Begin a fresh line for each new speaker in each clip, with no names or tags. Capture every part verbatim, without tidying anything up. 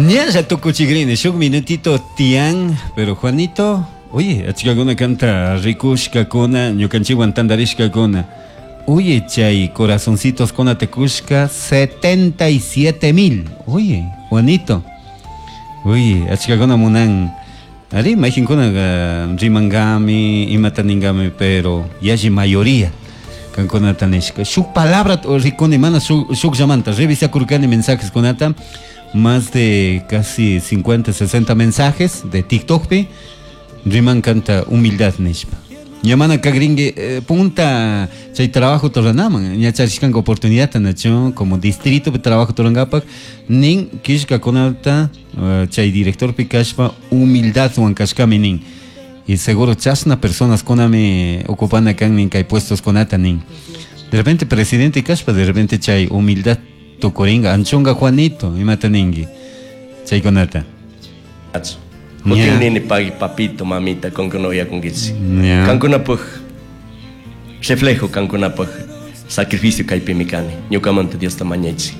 Ñalla tukuchigrini, shuk minutito tian, pero Juanito, oye, achkakuna kanta rikushkakuna, ñukanchikwan tantarishkakuna. Oye, chay corazoncitos kunata kushka setenta y siete mil. Oye, Juanito. Oye, achkakuna munan. Ari, mayqinkuna rimangami, imata ningami, pero yalli mayoría kankunata nishka. Shuk palabra rikuni, mana shuk llamanta, revisakurkani mensajes kunata, más de casi cincuenta, sesenta mensajes de TikTok pi, riman kanta humildad nishpa. Ñamana kagringue, eh, punta chay trabajo toranaman, ña charishkanka oportunidad nacho como distrito de trabajo torangapak, nin kishka kunata, eh, chay director pi kashpa humildad wan kashkami nin. Y seguro chasna personas kunami ocupana kan nin kay puestos kunata nin. De repente presidente kashpa, de repente chay humildad tukuringa, anchunga Juanito, imata ningui, chay kunata.
Acho. Kutin nini pagi papito, mamita, con que no voy a conquistar.
Yeah.
Kankunapaj reflejo, kankunapaj sacrificio kaypimi kani. Ñukamanta Dios ta mañaychik.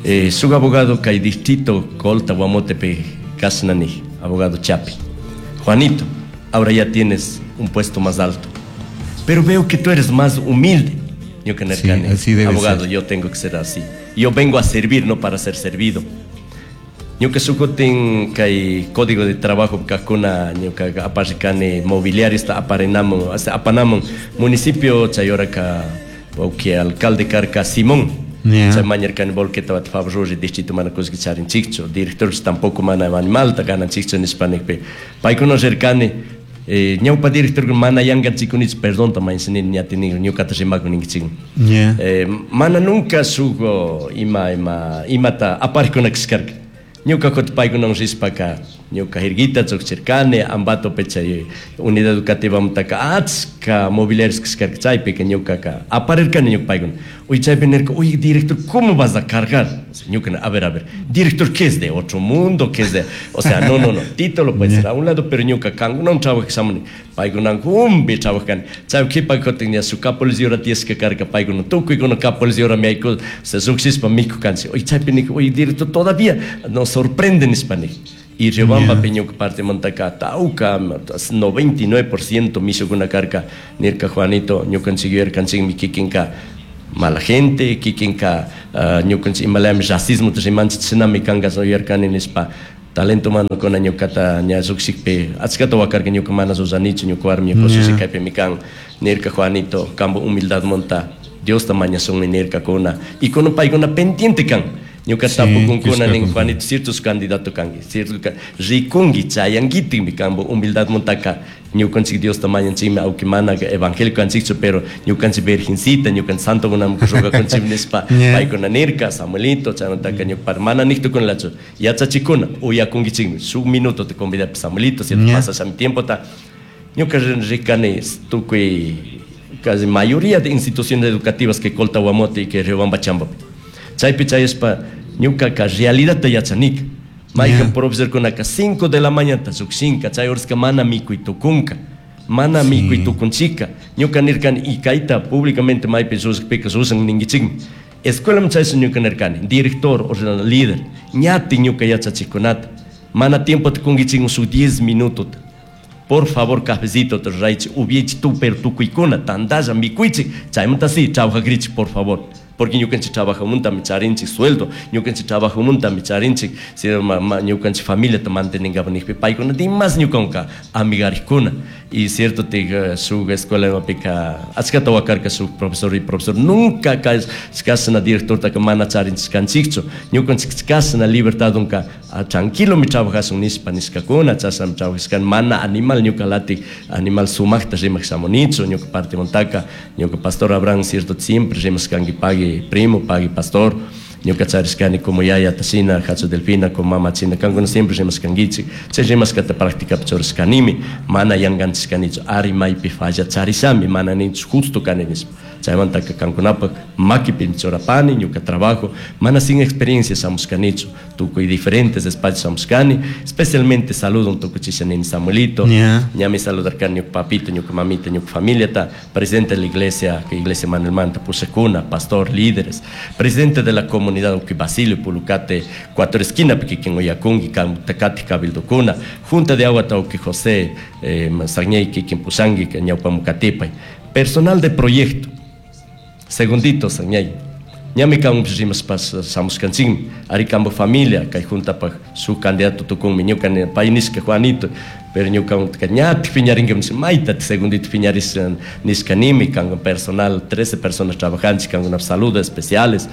Eh, su abogado kay distrito Colta Guamotepe Kasnani, abogado Chapi. Juanito, ahora ya tienes un puesto más alto. Pero veo que tú eres más humilde. Ñuka
Sí,
nerkani,
así debe
abogado,
ser.
Yo tengo que ser así. Yo vengo a servir, no para ser servido. Ñuka sukutin kay código de trabajo kakuna ñuka aparikani mobiliario está aparinamun, hasta apanamun municipio chayoraka que alcalde karka Simón.
Yeah.
Chay mañarkani volqueta bat favor distrito mana kuski charin chikcho, director tampoco mana animal ta ganan chikcho nispanikpi. Paykuna rirkani, eh, ñawpa director mana yangan chikunich perdón ta mañsini ñatini ñukata rimakun ninkichik.
Yeah.
Eh, mana nunca sugo ima ima imata aparikuna kiskarka. Ñuka kot paykunawan rispaka, ñuka jirguita chukchirkani, Ambato pecha unidad educativa mutaka achka mobiliarios kiskarka chaypika ñukaka aparirkani ñuka paykuna. Uy, chaypi nirka, uy, director, ¿cómo vas a cargar? O sea, ñuka, a ver, a ver, director, ¿qué es de otro mundo? ¿Qué es de? O sea, no, no, no, título puede ser a un lado, pero ñuka kankunawan trabajashamuni, paykunan humbi trabajani. Chay kipa kutin ña su kapolis yura tieska karka paykuna, tukuykuna kapolis yura miayku, se suksispa miku kansi. Uy, chaypi nirka, uy, director, todavía nos sorprende nispa nik. Y Riobamba
Yeah.
peñuka parte montaka tauka noventa y nueve por ciento misukuna karka nirka Juanito ñukanchik yuyarkanchikmi kikinka mala gente, kikinka, ah, ñukanchik imalami racismo rimanchik chinami kanka yuyarkani nispa talento humano kuna ñukata ña lluqshikpi achkata wakarka ñuka mana ruranichu ñuka warmi ñuka
Yeah.
ususi kaypimi kan nirka Juanito kambo humildad monta Diosta mañasunmi nirka kuna y kuna paykuna pendiente kan ñuka
Sí,
tapukunkuna nin
kishka
Juanito ciertos candidato kanki cierto ka rikunki chayankitikmi kambo humildad montaka ñukanchik Diosta mañanchikmi aunque mana evangélico kanchikchu pero ñukanchik virgencita ñukanchik santo kunam rugakunchik nispa
Yeah.
paykuna nirka Samuelito chaymantaka ñuka mana niqtukunlachu yachachikuna uyakunkichikmi shuk minuto te convidapi Samuelito cierto
Yeah.
pasas mi tiempo ta ñuka rikani tukuy casi mayoría de instituciones educativas que Colta Guamote y que Riobamba Chambapi chaypi chayaspa ñukaka realidad ta yachanika maykan
Yeah.
profesor kunaka cinco de la mañana llukshinka chay horaska mana mikuy tukunka mana
Sí.
mikuy tukunchika ñuka nirkani y kayta públicamente maypi llushikpika llushan ninkichikmi escuela chaysi ñuka nirkani director o sea, líder ñati ñuka yachachikunata mana tiempo tukunkichikmi su diez minutos por favor cafecito te raichi ubichi tu pero tukuykuna tandalla mikuychik chaymanta sí trabajakrichik por favor porque ñukanchik trabajamuntami charinchik sueldo ñukanchik trabajamuntami charinchik si ma, ma, ñukanchik familia te mantenengapa nijpi paykuna dimas ñukanka amigarikuna y cierto te eh, su escuela imapika achkata wakarka su profesor y profesor nunca kasna director ta mana charinchik kanchikchu ñukanchik kasna libertad unka ah, tranquilo mi trabajasun nispa niskakuna chasnami trabajashkan mana animal ñuka latik animal sumakta rimak shamunichu ñuka parte montaka ñuka pastor Abraham cierto siempre rimashkanki pagui primo pagui pastor ñuka charishkani como yaya tashina hachu delfina como mama china kankuna siempre rimashkankichik chay rimashkata practicapi churashkanimi mana yanganchishkanichu ari maypi falla charishami mana ninchu justo kani nispa Chaymantaka kankunapaj makipimi churapani ñuka trabajo, mana sin experiencia shamushkanichu, tukuy diferentes espacios shamushkani, especialmente saludo tukuchisha nini Samuelito,
Yeah.
ñami saludarkani ñuka papito, ñuka mamita, ñuka familiata, presidente de la iglesia, que iglesia Manuel Manta pushakuna, pastor, líderes, presidente de la comunidad uki Basilio Pulucate, cuatro esquina kikin uyakunki, Takati Cabildokuna, Junta de Agua Tauki José, eh, Sagñey kikin pushanki, ñawpamukatipay, personal de proyecto, segundito Sagñey, ñami kan rimaspas shamushkanchikmi, ari kambo familia, kay juntapaj su candidato tukunmi, ñuka pay nishka Juanito, pero ñuka ñatik piñarinki mayta segundito piñarish nishkanimi, kan personal, trece personas trabajanchik, kan saludos especiales.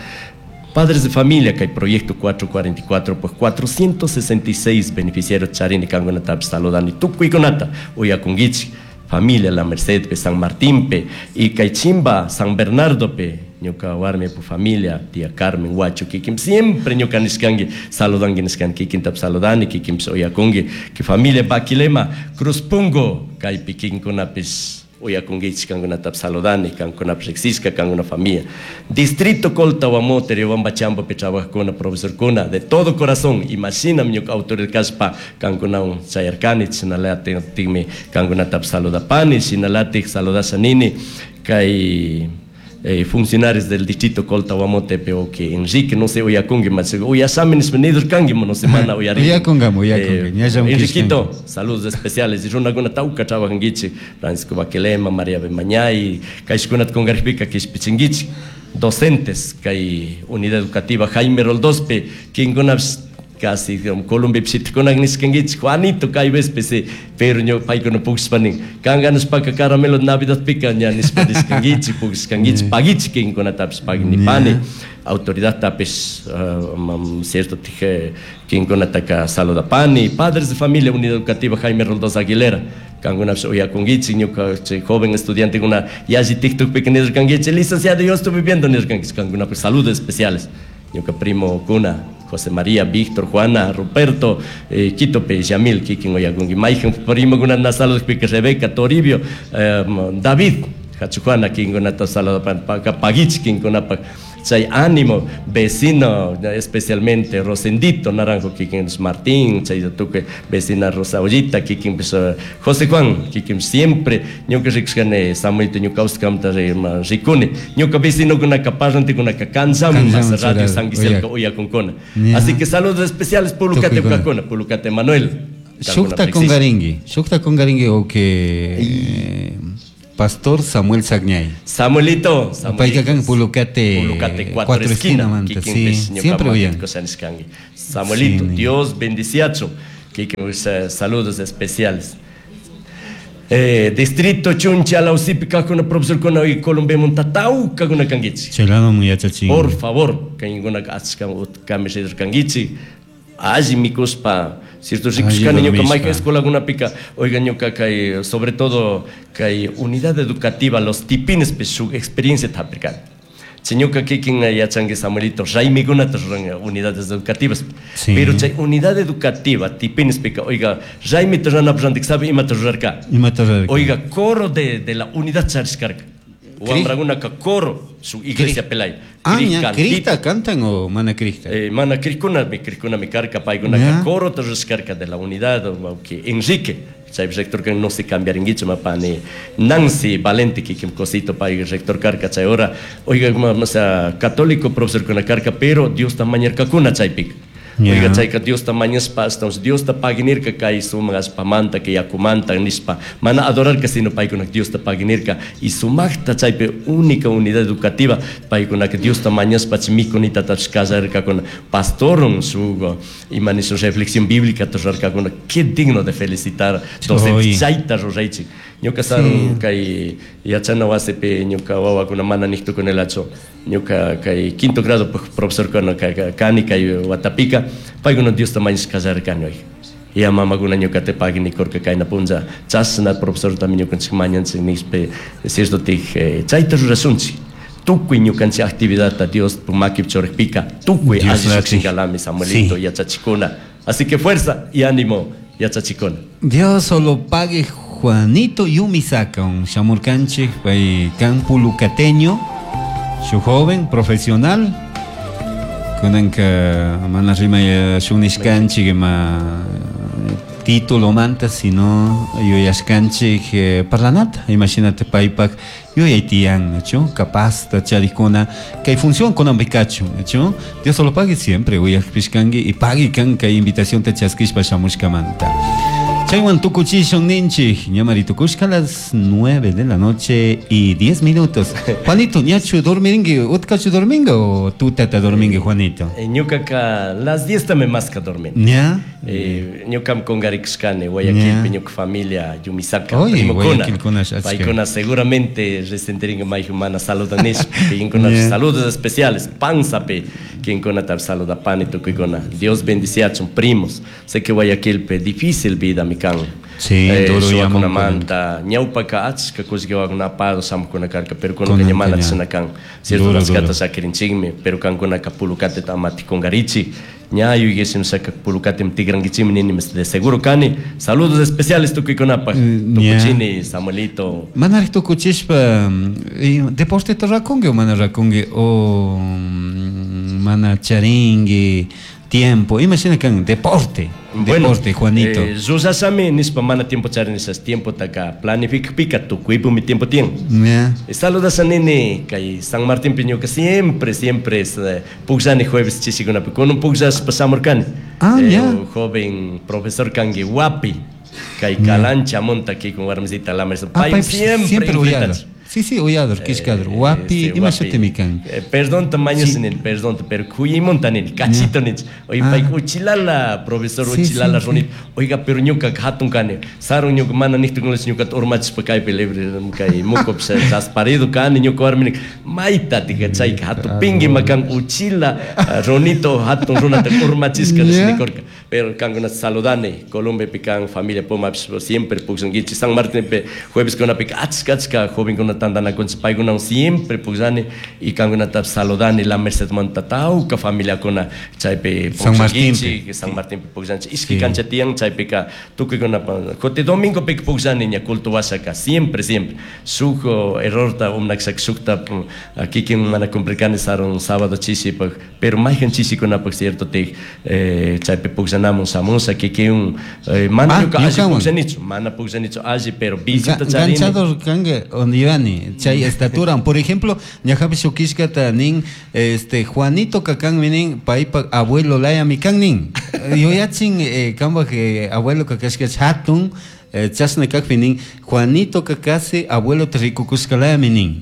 Padres de familia, que hay proyecto cuatro cuarenta y cuatro, pues cuatrocientos sesenta y seis beneficiarios charini kangunata saludani tukuykunata uyakunkichik, familia La Merced pe San Martín pe y Caichimba San Bernardo pe ñuka warmi pu familia tía Carmen Huacho kikim siempre ñuka nishkanki saludanki nishkanki kikinta saludani kikim uyakunki que familia Baquilema Cruz Pungo kaypi kikinkunapis uyakunkichik kankunata saludani kankunapish riksishka kankuna familia distrito Colta Guamote Riobamba Chambo pe trabajakuna profesorkuna de todo corazón imaginam ñuka autoridad kaspa kankunawan chayarkani chinalatikmi kankunata saludapani chinalatik saludasha nini kay eh, funcionarios del distrito Colta Guamote pero que Enrique no sé uyakunki mas uyasami nispa nidurkanki no semana uyarinki.
Uyakungami, uyakunki,
Eh,
ñallam
Enriquito,
kishkanki.
saludos especiales y runakuna tawka trabajankichik Francisco Baquelema, María Bemañay, kayshkunata kunkarpika kishpichinkichik docentes kay unidad educativa Jaime Roldospe kinkunapish casi Colombia pishitikunak nishkankichik Juanito kay vespe sí, pero ño paykuna pukshpa nin kanganushpaka caramelo Navidad pika ña nishpa nishkankichik pukshkankichik pagichik kinkunatapish paginipani autoridad tapish, uh, mam, cierto tije kinkunataka saludapani padres de familia unidad educativa Jaime Roldós Aguilera kankunapish uyakunkichik ñuka chay joven estudiante kuna yalli TikTok pika nirkankichik licenciado yo estuve viendo nirkankichik kankunapish saludos especiales ñuka primo kuna José María, Víctor, Juana, Ruperto, eh, Quito pe, Yamil, kikin uyakunki mayhan primo kuna na saludos pika Rebeca, Toribio, eh, David, Hachu Juana, kinkunata saludapan, paka pagichik kinkunapaj chay ánimo, vecino, especialmente Rosendito Naranjo, kikin Martín, chay tuque vecina Rosa Ollita, kikin pues, eh, José Juan, kikin siempre, ñuka rikushkani Samuelito ñuka uskamta rikuni, ñuka vecino kunaka parlante kunaka kansamun,
Kansamun
más radio
churado,
San Giselka
oyak.
uyakunkuna.
Ya.
Así que saludos especiales Pulucate
Tukuykuna.
Ukakuna, Pulucate Manuel.
Shukta kungarinki, shukta kungarinki o que Pastor Samuel Sagñay.
Samuelito, Samuelito.
Payka kan Pulucate,
Pulucate cuatro,
cuatro
esquina,
esquina, manta,
kikin
sí,
pes, ñuka
siempre
manta
oyan.
cosa nishkanki. Samuelito,
Sí, ni.
Dios bendiciacho. Kikin, eh, saludos especiales. Eh, distrito Chuncha, Lausipi, kakuna profesor kuna y Colombia Montatau, kakuna kangichi.
Chelano muyachachin.
Por favor, kainguna achka utkami kangichi. Alli mikuspa, cierto rikushkani
Alli
ñuka
dormishpa.
mayka escuela kunapika, oiga ñuka kay, sobre todo kay unidad educativa, los tipines pe su experiencia tapirkani. Chay ñuka kikin yachanki Samuelito, raymikunata ruran unidades educativas.
Sí.
Pero chay unidad educativa, tipines pika, oiga, raymita ruranapaj randik sabe imata rurarka.
Imata rurarka.
Oiga, coro de, de la unidad charishkarka. Wambrakunaka coro, su iglesia pelay.
Ah,
Cri
ña,
cantito.
¿Crista cantan o mana crista?
Eh, mana cricuna, mi cricuna, mi carca, paykunaka
Ya.
coro tarishkarka de la unidad, o que Enrique, chay rector que no se cambiaringuicho, mapani Nancy Valente, que que cosito pay rector carca, chay ora, oiga, ma, o sea, católico profesor con la carca, pero Dios tamañerkakuna chaypik.
Ya.
Oiga, chayka Dios tamañaspa, estamos Dios ta paginirka kay sumaq pamanta que yakumanta nispa. Mana adorarka sino paykunak Dios ta paginirka y sumaqta chaypi única unidad educativa paykunak Dios tamañaspa mikunita tachkasarkakuna pastorun su imani su reflexión bíblica rurarkakuna. Qué digno de felicitar docentes
Oy.
chayta ruraychik. Ñuka sarun kay yachana wasipi ñuka wawakuna mana niqtukunelachu ñuka kay quinto grado profesor kana kani kay watapika paykuna Dios tamañas kasarkani oiga. Ya mamakuna ñuka te paginikurka kayna punlla chashna profesor también ñukanchik mañanchik nishpa cierto tij, eh, chayta rurasunchik. Tukuy ñukanchik actividadta Dios makip churikpika tukuy
Dios
alli
lati.
llukshinkalami Samuelito
Sí.
yachachikuna. Así que fuerza y ánimo yachachikuna.
Dios solo pague Juanito Yumisaka shamurkanchik pay kan pulucateño, su joven profesional kunanka mana rimay shunishkanchik ima título manta sino yuyashkanchik eh, parlanata imashinate paypak yuyay tiyan nachu capaz charikuna kay función kunanpi kachun nachu. Dios solo pague siempre uyakpishkanki y pagui kan kay invitación ta chaskishpa shamushkamanta. Chaywan tukuchishun ninchik, ñamari tukushka las nueve de la noche y diez minutos. Juanito, ñachu dormiringi, utkachu dorminga o tutata dormingi, Juanito?
Eh, ñukaka las diez tami maska dormin.
¿Ya?
Eh, ñukam kungarikushkani Guayaquilpi ñuka familia Yumisaka,
Oye,
primokuna.
Guayaquilkuna achka.
Paykuna seguramente resentiringa mayju mana saludanishpa, kinkuna
Yeah.
saludos especiales panzapi kinkunata saludapani tukuykuna. Dios bendiciachun primos. Sé que Guayaquilpi difícil vida mi kan.
Sí, duro
Suwakunamanta ñawpaka achka kullkiwakuna apado shamukuna karka, pero kunanka
Kunanka
ña mana
ña.
chashna kan. Cierto,
Duro,
achkata
duro.
sakirinchikmi, pero kankunaka pulukateta amati kunkarichik. Ña yuyashim saka pulukatim tigrankichikmi nini de seguro kani. Saludos especiales tukuykunapaj.
Mm, ña.
Tukuchini, Samuelito.
Manaraq tukuchishpa eh, deporteta rakunki o mana rakunki o mm, mana charinki tiempo, imashina kan deporte, deporte, Juanito.
Eh, rurashami nishpa mana tiempo charinishas tiempo taka planificpika tukuypumi tiempo tiyan.
Ya.
Saludas a nene kay San Martín ñuka siempre siempre es eh, pukllani jueves chishikunapi kunan pukllashpa shamurkani.
Ah,
Eh,
ya.
un joven profesor kanki wapi kay kalancha monta con warmisita la mesa.
Ah,
Pay
pay
siempre
siempre uyador.
invitach.
Sí, sí, uyador, kishkador. Wapi,
Eh, sí,
ima
wapi.
shutimi kan?
Eh, perdón tamaño
Sí.
nini, perdón, pero kuyimonta nini, cachito nini. Oye,
Ah.
pay uchilala, profesor
Sí,
uchilala
sí,
runit. Oiga, pero ñuka hatun kani. Sarun ñuka mana nihtukunas ñuka urmachishpa kaypi libre kay mukup rasparido kani ñuka warmi mayta tika chayka hatun pingi makan uchila ah, runito hatun runata urmachishka
Yeah.
nikurka. Pero kankuna saludani, Colombiapi kan familia Puma siempre pukllankichik San Martín jueves kunapika achka achka jovenkuna tantanakunchik paykunawan siempre pukllani y kankunata saludani La Merced manta tawka familiakuna chaypi
San Martinpi.
pukllankichik, San Martinpi pukllanchik ishki
Sí.
cancha tiyan chaypika tukuykunapa kuti domingopika pukllani ña culto washaka siempre siempre shuk oh, errorta umnakshaka shukta mm, kikin mana cumplirkani sarun sábado chishipak pero mayhan chishikunapak cierto tik eh, chaypi pukllanamun shamusha kikin eh, mana
Ah,
ñuka alli
ñukawan.
pukllanichu mana pukllanichu alli pero visita
Ga-
charini.
Ganchador kanga onivani chay estatura, por ejemplo, ñajapi shukishkata nin este Juanito kakanmi nin paypa abuelo layami kan nin yuyachin eh, kanpaj eh, abuelo kakashka hatun eh, chashna kakpi nin Juanito kakasi abuelo rikukushka layami nin.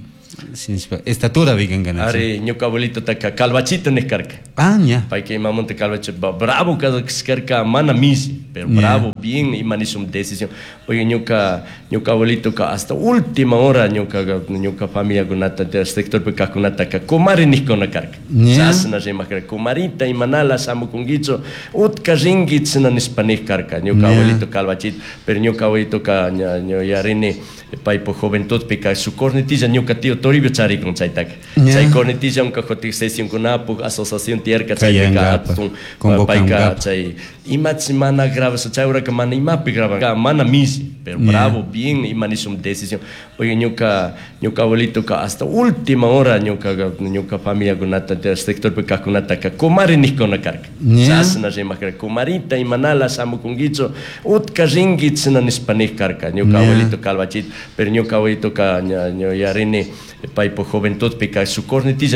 Sinishpa estatura vikangana.
Ari ñuka abuelito taka calvachito nik karka.
Ah, ña.
Payka imamunta calvacho bravo karka mana mishi pero
Yeah.
bravo bien ima nishun decisión. Oye ñuka ñuka abuelito ka hasta última hora ñuka ñuka familiakunata sectorpi kajkunataka kumari nikkuna karka.
Yeah.
Chashna rimak karka kumarita imanala shamukunkichu utka rinki chashna nishpa nik karka ñuka
Yeah.
abuelito calvachito pero ñuka abuelito ka ña ña yarini paypa juventudpika su cornetilla ñuka tío Toribio charikun chaytaka.
Yeah.
Chay cornetilla unka kutin sesionkunapuk asociación tiyarka chaypika
Kayankapa,
atun
convocankapa.
payka chay imachi mana grabasha chay horaka mana imapi graban mana mishi pero
Yeah.
bravo bien ima nishun decisión. Oye ñuka ñuka abuelito ka hasta última hora ñuka ñuka familiakunata sectorpi kajkunataka kumari nikkuna karka.
Yeah.
Chashna rimak karka kumarita imanala shamukunkichu utka rinki chashna nishpa nik karka ñuka
Yeah.
abuelito calvachito pero ñuka abuelito ka ña ña yarini paypa juventudpika su cornetilla